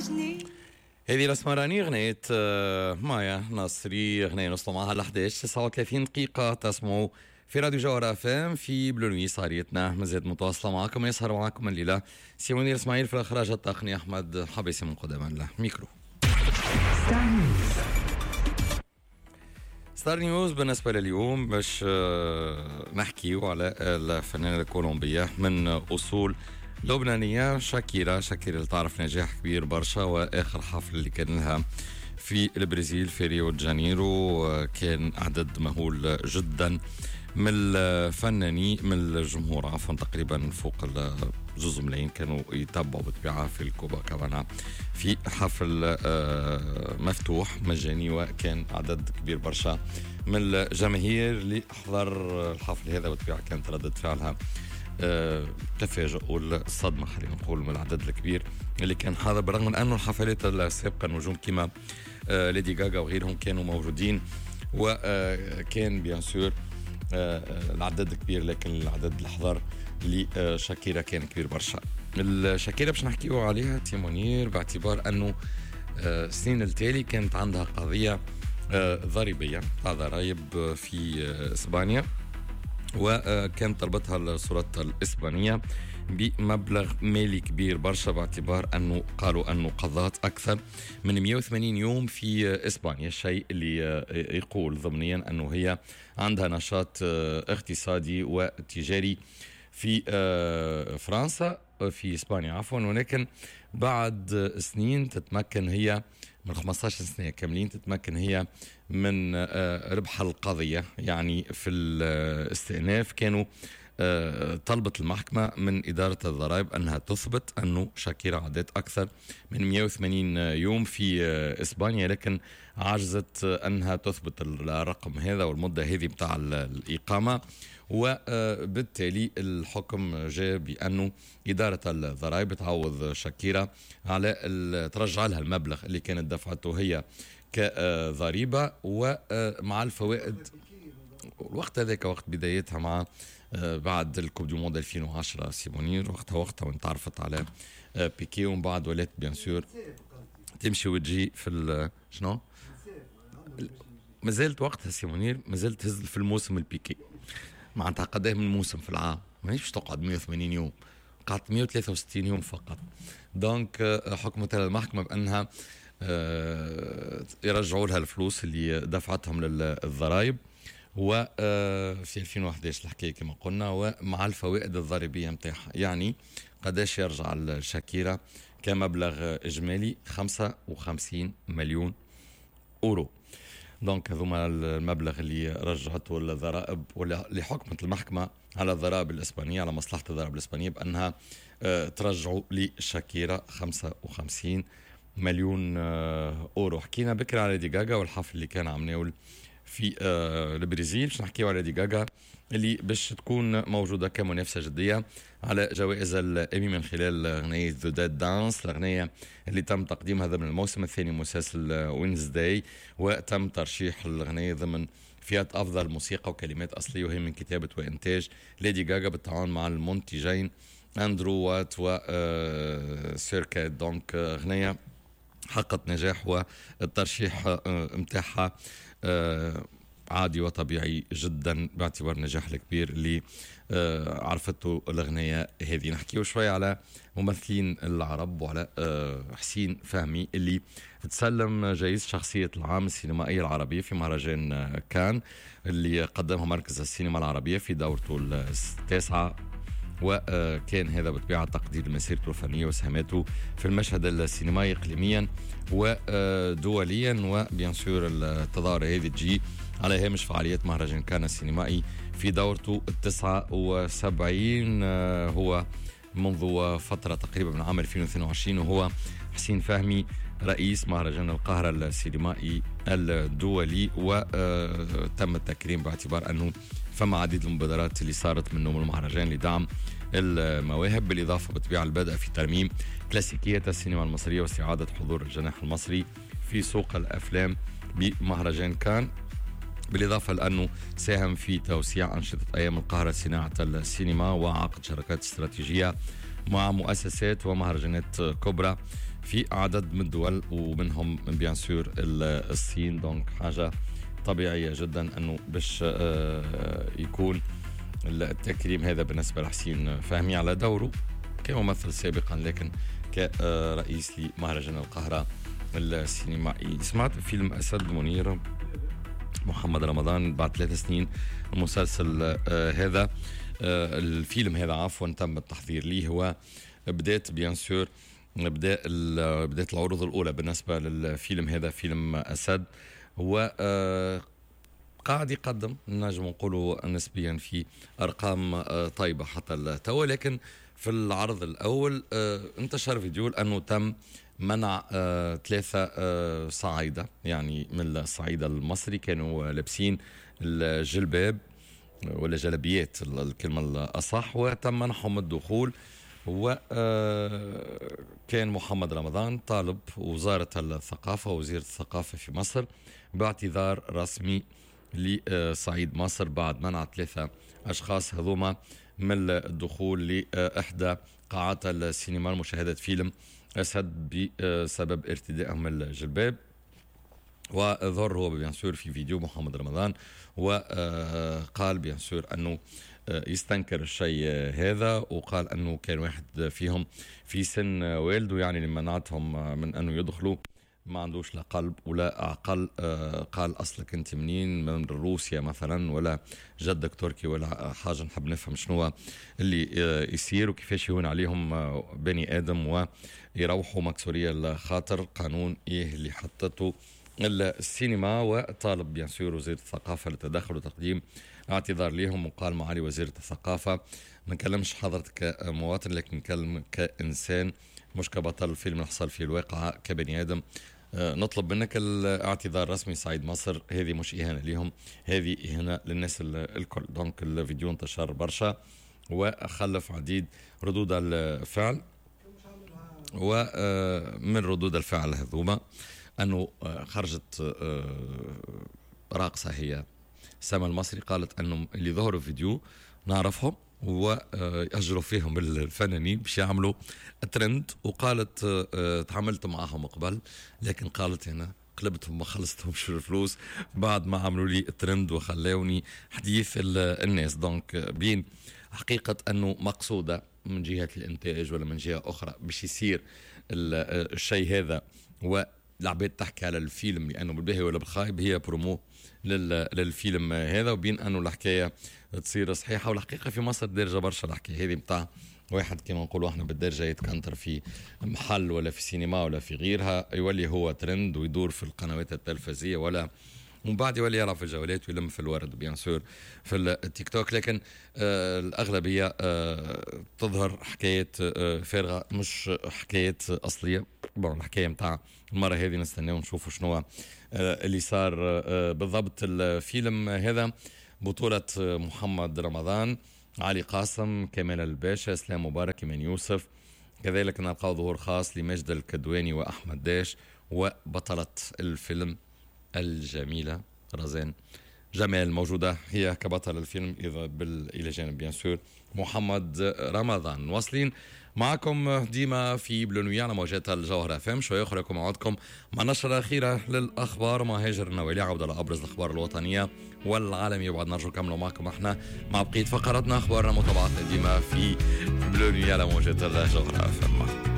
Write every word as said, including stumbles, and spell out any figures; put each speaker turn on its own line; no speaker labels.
وحشني.
هذه الاسمراني، اغنية آه، مايا نصري، اغنية نوصلوا معها ل إحداش تسعة وثلاثين دقيقة. تسمعوا في راديو جوهرة اف ام في Bleu Nuit. سهريتنا مازالت متواصلة معكم، يسهر معكم الليلة سي منير اسماعيل، في الاخراج التقني احمد حبيسي من قدام الميكرو.
ستار نيوز.
ستار نيوز بالنسبة لليوم باش آه، نحكيو على الفنانة الكولومبية من أصول لبنانية شاكيرا. شاكيرا اللي تعرف نجاح كبير برشا، وآخر حفل اللي كان لها في البرازيل في ريو دي جانيرو آه، كان عدد مهول جدا من الفنانين، من الجمهور عفوا، تقريبا فوق زوز ملايين كانوا يتبعوا بالطبيعة في الكوباكابانا في حفل آه، مفتوح مجاني، وكان عدد كبير برشا من الجماهير اللي حضر الحفل هذا. بالطبيعة كانت ردة فعلها آه، تفاجؤ والصدمة خلينا نقول من العدد الكبير اللي كان حاضر، بالرغم من أنه الحفلات السابقة نجوم كما آه، ليدي غاغا وغيرهم كانوا موجودين، وكان bien sûr العدد كبير، لكن العدد اللي حضر لشاكيرا كان كبير برشا. الشاكيرا باش نحكيو عليها سي منير باعتبار انه آه، السنين التالي كانت عندها قضية آه، ضريبيه تاع ضرائب في آه، اسبانيا، وكانت طلبتها السلطات الإسبانية بمبلغ مالي كبير برشا، باعتبار أنه قالوا أنه قضات أكثر من مية وثمانين يوم في إسبانيا، الشيء اللي يقول ضمنيا أنه هي عندها نشاط اقتصادي وتجاري في فرنسا، في اسبانيا عفوا. ولكن بعد سنين تتمكن هي من خمسطاش سنة كاملين تتمكن هي من آه، ربح القضيه. يعني في الاستئناف كانوا آه، طلبت المحكمة من إدارة الضرائب أنها تثبت أنه شاكيرا عدت أكثر من مية وثمانين يوم في آه، إسبانيا، لكن عجزت أنها تثبت الرقم هذا والمدة هذه بتاع الإقامة. وبالتالي الحكم جاء بأنه إدارة الضرائب تعوض شاكيرا على ترجع لها المبلغ اللي كانت دفعته هي كضريبة ومع الفوائد. الوقت هذاك وقت بدايتها مع آه، بعد ال Coupe du Monde ألفين وعشرة سي منير، وقتها وقتها وين تعرفت على آه، بيكي، ومن بعد ولات bien sûr تمشي وتجي في شنو مازالت وقتها سي منير مازالت تهز في الموسم البيكي. معناتها قداه من موسم في العام؟ ماهيش باش تقعد مية وثمانين يوم، قعدت مية وثلاثة وستين يوم فقط. donc آه، حكمت المحكمة بأنها يرجعوا لها الفلوس اللي دفعتهم للضرائب، وفي ألفين وإحداش الحكاية كما قلنا، ومع الفوائد الضريبية نتاعها. يعني قداش يرجع الشاكيرا كمبلغ اجمالي؟ خمسة وخمسين مليون اورو. donc هذوما المبلغ اللي رجعته الضرائب، ولا اللي حكمت المحكمة على الضرائب الاسبانيه، على مصلحة الضرائب الاسبانية بانها آه، ترجعوا لشاكيرا خمسة وخمسين مليون آه، اورو. حكينا بكري على ليدي غاغا والحفل اللي كان عملناه في آه، البرازيل. باش نحكيو على ليدي غاغا اللي باش تكون موجودة كمنافسه جدية على جوائز الايمي من خلال اغنية The Dead Dance، الاغنية اللي تم تقديمها ضمن الموسم الثاني مسلسل وينزداي، وتم ترشيح الاغنية ضمن فئة افضل موسيقى وكلمات اصليه، وهي من كتابه وانتاج ليدي غاغا بالتعاون مع المنتجين اندرو وات و سيركات. donc اغنية حققت نجاح والترشيح متاعها آه، عادي وطبيعي جدا باعتبار النجاح الكبير اللي آه، عرفته الأغنية هذه. نحكيو شوي على ممثلين العرب وعلى آه، حسين فهمي اللي تسلم جائزة شخصية العام السينمائية العربية في مهرجان كان اللي قدمها مركز السينما العربية في دورته التاسعة، وكان هذا بطبيعة تقدير لمسيرته الفنية وسهاماته في المشهد السينمائي إقليميا ودوليا. و bien sûr التظاهرة هذه تجي على هامش فعاليات مهرجان كان السينمائي في دورته التسعة وسبعين. هو منذ فترة تقريبا من عام ألفين واثنين وعشرين وهو حسين فهمي رئيس مهرجان القاهرة السينمائي الدولي، وتم التكريم باعتبار أنه فما عديد المبادرات اللي صارت منه من المهرجان لدعم المواهب، بالإضافة بالطبيعة البدء في ترميم كلاسيكية السينما المصرية واستعادة حضور الجناح المصري في سوق الأفلام بمهرجان كان، بالإضافة لأنه ساهم في توسيع أنشطة أيام القاهرة صناعة السينما وعقد شراكات استراتيجية مع مؤسسات ومهرجانات كبرى. في عدد من الدول ومنهم bien sûr الصين. donc حاجة طبيعية جدا أنه باش يكون التكريم هذا بالنسبة لحسين فهمي على دوره كممثل سابقا لكن كرئيس لمهرجان القاهرة السينمائي. سمعت فيلم أسد منير محمد رمضان بعد ثلاث سنين المسلسل هذا، الفيلم هذا عفوا تم التحضير ليه هو بدات bien sûr بدا بدات العروض الأولى بالنسبة للفيلم هذا فيلم أسد، هو قاعد يقدم نجم نقولوا نسبيا في أرقام طيبة حتى التو، لكن في العرض الأول انتشر فيديو لأنه تم منع ثلاثة صعايدة يعني من الصعيد المصري كانوا لابسين الجلباب ولا جلبيات الكلمة الأصح، وتم منحهم الدخول. وكان محمد رمضان طالب وزارة الثقافة وزير الثقافة في مصر باعتذار رسمي لصعيد مصر بعد منع ثلاثة أشخاص هذوما من الدخول لإحدى قاعات السينما لمشاهدة فيلم أسد بسبب ارتدائهم الجلباب. وظهر هو bien sûr في فيديو محمد رمضان وقال bien sûr أنه يستنكر الشيء هذا، وقال أنه كان واحد فيهم في سن والده يعني اللي منعتهم من أنه يدخلوا ما عندوش لا قلب ولا عقل. قال أصلك أنت منين، من روسيا مثلا ولا جدك تركي ولا حاجة، نحب نفهم شنو اللي يصير وكيفاش يهون عليهم بني آدم ويروحوا مكسورية الخاطر قانون إيه اللي حطته السينما. وطالب bien sûr وزير الثقافة للتدخل وتقديم اعتذار لهم، وقال معالي وزيرة الثقافة ما نكلمش حضرتك كمواطن لكن نكلم كإنسان مش كبطل الفيلم اللي حصل فيه الواقعة كبني آدم، نطلب منك الاعتذار الرسمي صعيد مصر، هذه مش إهانة لهم هذه إهانة للناس الكل. donc الفيديو انتشر برشا وخلف عديد ردود الفعل، ومن ردود الفعل هذوما أنه خرجت راقصة هي سما المصري قالت أنه اللي ظهروا فيديو نعرفهم ويأجروا فيهم الفنانين باش يعملوا ترند، وقالت تعاملت معهم قبل لكن قالت هنا قلبتهم ما خلصتهمش الفلوس بعد ما عملوا لي الترند وخلاوني حديث الناس. donc بين حقيقة أنه مقصودة من جهة الإنتاج ولا من جهة أخرى باش يصير الشيء هذا والعباد تحكي على الفيلم لأنه بالباهي ولا بالخايب هي برومو للفيلم هذا، وبين أنه الحكاية تصير صحيحة. والحقيقة في مصر دارجة برشا الحكاية هذه متاع واحد كما نقولوا احنا بالدرجة يتكنتر في محل ولا في سينما ولا في غيرها يولي هو ترند ويدور في القنوات التلفزية ولا ومن بعد يولي يلعب في الجولات ويلم في الورد bien sûr في التيك توك. لكن آه الأغلبية آه تظهر حكايات آه فارغة مش حكايات أصلية. bon الحكاية متاع المرة هذه نستناو نشوفوا شنو آه اللي صار آه بالضبط. الفيلم هذا بطولة محمد رمضان، علي قاسم، كمال الباشا، اسلام مبارك، إيمان يوسف، كذلك نلقاو ظهور خاص لمجد الكدواني وأحمد داش، وبطلة الفيلم الجميلة رزان جمال موجودة هي كبطل الفيلم إذا بال... إلى جانب bien sûr محمد رمضان. واصلين معكم ديما في Bleu Nuit على موجات الجوهرة اف ام. شوية أخرى يكون موعدكم مع النشرة الأخيرة للأخبار مع هاجر النوالي، عودة لأبرز الأخبار الوطنية والعالمية. وبعد نرجو نكملوا معكم احنا مع بقية فقراتنا أخبارنا متابعتنا ديما في Bleu Nuit على موجات الجوهرة اف ام.